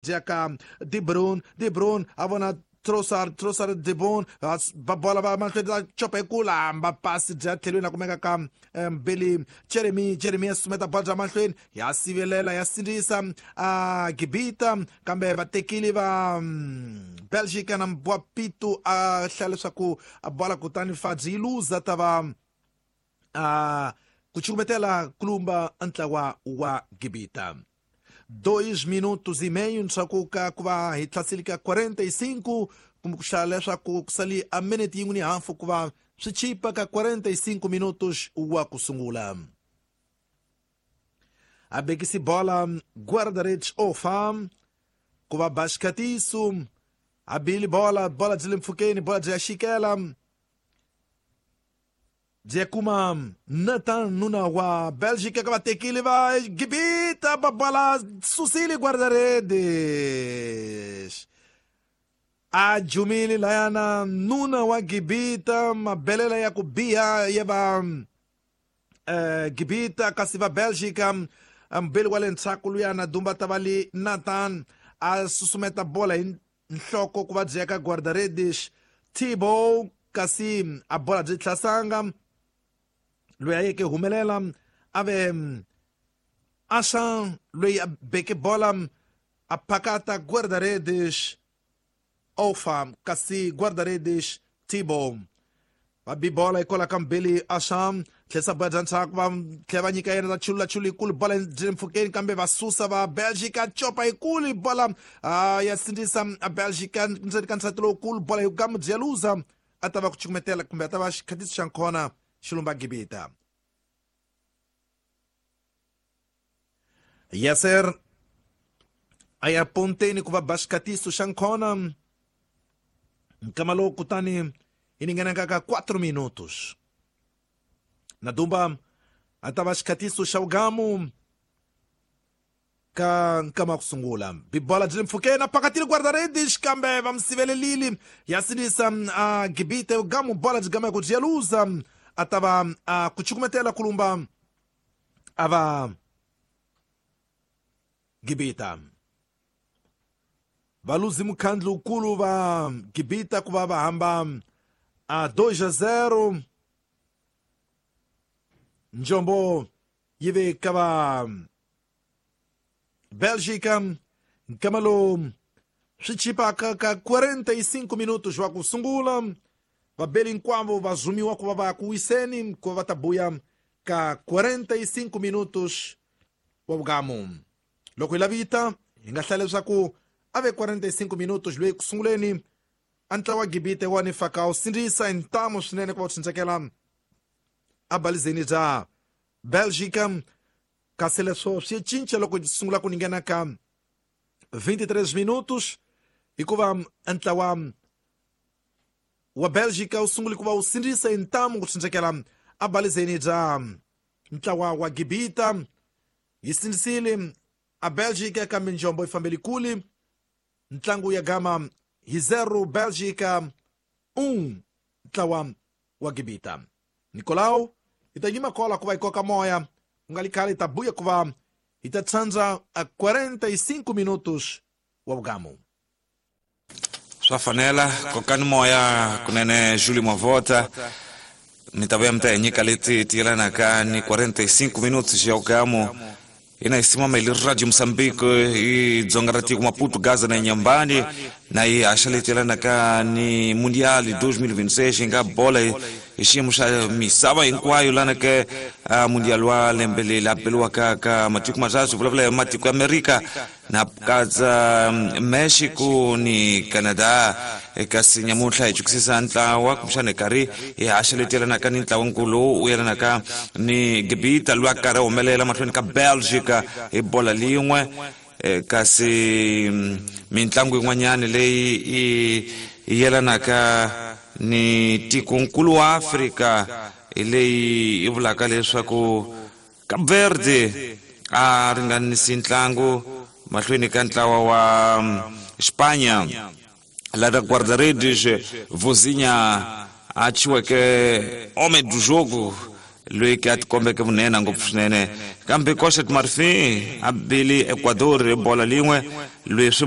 bya ka De Bruyne. De Bruyne a vona Trossard, Trossard, De Bruyne va bola va mahlweni va copa hi ku lamba pasi bya tlhelweni a kumeka ka Billy Jeremy. Jeremy ya susumeta bola bya mahlweni ya sivelela ya sindzisa a Gibita, kambe vatekile va Belgica na Mbwapitu a hlaya leswaku a bola kutani Fadzi yi luza ta va a ku cukumetela kulumba ntlawa wa Gibita. 2 minutos e meio ndzhaku ka ku va hi tlhasile ka 45, kumbe ku hlaya leswaku ku sali a minute yin'we ni hafu ku va swi chipa ka 45 minutos wa ku sungula. A bekisi bola guarda-redes Ofa ku va Bashkatisu a bili bola, bola byi le mpfhukeni, bola byi ya xikela byi kuma Nathan nuna wa Belgica ka vatekile va Gibita ba bola susile guarda-redes a jumile layana nuna wa Gibita mabelela ya ku biha ya va Gibita, kasi va Belgica mbeli wa le ndzhaku luyana dumba ta va li Nathan a susumeta bola hi nhloko ku va byi ka guarda-redes Thibaut, kasi a bola byi tlhasanga loyi a yeke humelela a ve Ashan loyi a beke bola a phakata guarda-redes Ofa, kasi guarda-redes Thibaut va bi bola hikwalaho ka mbeli Asham tlhesa bola bya ndzhaku va tlhela va nyika yena ta chulula chulu yikulu bola byi le mpfhukeni kambe va susa va Belgica copa yikulu bola ya sindzisa a Belgica ndzeni ka nsati lowukulu bola hi gamu byi ya luza a ta va ku cukumetela kumbe a ta va xikhatiso xa nkhona xilumba Gibita. Yasser a ya ponteni ku va ba xikhatiso xa nkhona nkama lowu kutani yi ninganaka ka 4 minutos na dumba a ta va xikhatiso xa vugamu ka nkama ku sungula. Bibola byi le mpfhukeni a phakatile guarda-redes kambe va mi sivelelile ya sinisa a Gibite vugamu bola byi gama ku byi ya luza a ta va a ku cukumetela kulumba a va Gibita. Valuzi mukhandlu wukulu va Gibita ku va va hamba a 2-0 njombo yi ve ka va Belgica nkama lowu swi chipaka ka 45 minutos wa ku sungula vabeli hinkwavo va zumiwa ku va va ya ku wiseni ku va va ta buya ka 45 minutos wa vugamu. Loko hi lavita hi nga hlaya leswaku a ve 45 minutos loyi ku sunguleni a ntlawa wa Gibite wa ni faka wu sindzisa hi ntamu swinene ku va wu tshundzekela a balizeni bya Belgica, kasi leswo swi cinca loko sungula ku ninghena ka 23 minutos hikuva ntlawa wa Belgica wu sungule ku va wu sindzisa hi ntamu ku tshundzekela a balizeni bya ntlawa wa Gibita. Yi sindzisile a Belgica kambe njombo yi fambeli kule, ntlangu ya gama hi 0 Belgica 1 ntlawa wa Gibita. Nicolau hi ta yima kola ku va hi koka moya ku nga li khale hi ta buya ku va hi ta tsandza a 45 minutos wa vugamu. Swa fanela kokani moya kunene Júlio Mavota mi ta vuya mi ta hi nyika leti ti yelanaka ni 45 minutos ya ugamu ina isimama ili Radio Mozambique i dzonga ra tiko Maputo Gaza na Inhambane na yi haxa leti yelanaka ni Mundial 2026 nga bola hi xiyimo xa misava hinkwayo lana ke Mundial wa lembe leri a beliwaka ka matiko matatu vulavula hi matiko ya Amerika na katsa Mexico ni Canada. Kasi nyamuntlha hi chukisisa ntlawa kumbexana hi karhi hi haxa leti yelanaka ni ntlawankulu lowu wu yelanaka ni Gibita loyi a karhi a humelela mahlweni ka Belgica hi bola lin'we. Kasi mintlangu yin'wanyana leyi yi yelanaka ni tikonkulu wa Afrika hi leyi yi vulaka leswaku Cape Verde a ringanisi ntlangu mahlweni ka ntlawa wa Spanya lada guarda-redes Vozinha a chiweke homem do jogo loyi ke a tikombeke vunene ngopfu swinene, kambe Costa de Marfin a bile Ecuador hi bola lin'we loyi swi